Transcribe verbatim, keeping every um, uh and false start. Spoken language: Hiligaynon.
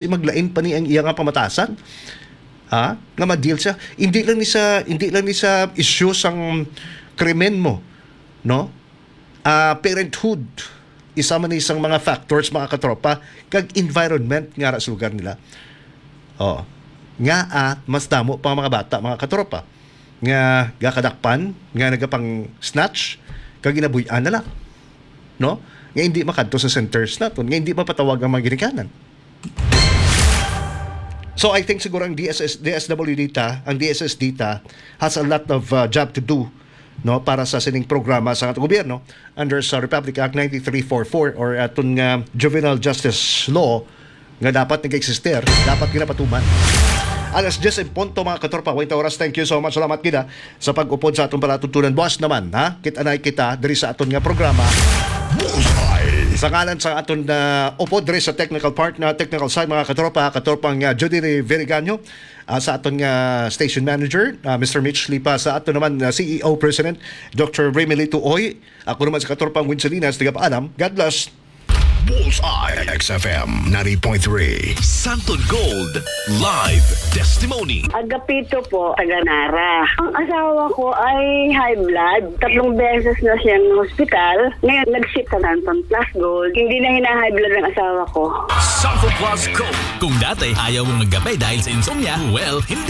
Di maglain pa ni ang iya nga pamatasan. Ha? Nga ma-deal siya. Hindi lang ni sa, hindi lang ni sa issue sang krimen mo, no? Ah, parenthood, isa man ni sang mga factors, mga katropa, kag environment nga ra sa lugar nila. Oh. Nga, ah, mas damo pa ang mga bata, mga katropa, nga gakadakpan, nga nagapang-snatch, kag ginabuy-an na lang, no? Nga hindi makadto sa centers naton, nga hindi mapatawag ang mga ginikanan. So, I think siguro ang D S S, D S W D ta, ang D S S D ta has a lot of, uh, job to do, no, para sa sining programa sa atong gobyerno under sa Republic Act ninety-three forty-four or aton nga juvenile justice law nga dapat nag-existir, dapat ginapatuman. Alas diyes en punto, mga katropa, wait oras. Thank you so much. Salamat gid sa pag-upod sa atong palatuntunan. Buwas naman, ha? Kita na kita diri sa aton nga programa. Bullseye! Sa ngalan sa aton na upod diri sa technical part na technical side, mga katropa, katropang, ah, Judy Verigaño, ah, sa aton nga station manager, ah, Mister Mitch Lipa, sa aton naman, ah, C E O President, Doctor Remilito Oy, ako naman sa katropang Win Salinas, tagapaalam. God bless. Bullseye, X F M ninety point three. Santon Gold Live Testimony. Agapito po, taga Nara. Ang asawa ko ay high blood. Tatlong beses na siyang hospital. Ngayon, nag-ship sa Santon Plus Gold. Hindi na hina-high blood ang asawa ko. Santon Plus Gold. Kung dati ayaw mong magkape dahil sa insomnia, well, hindi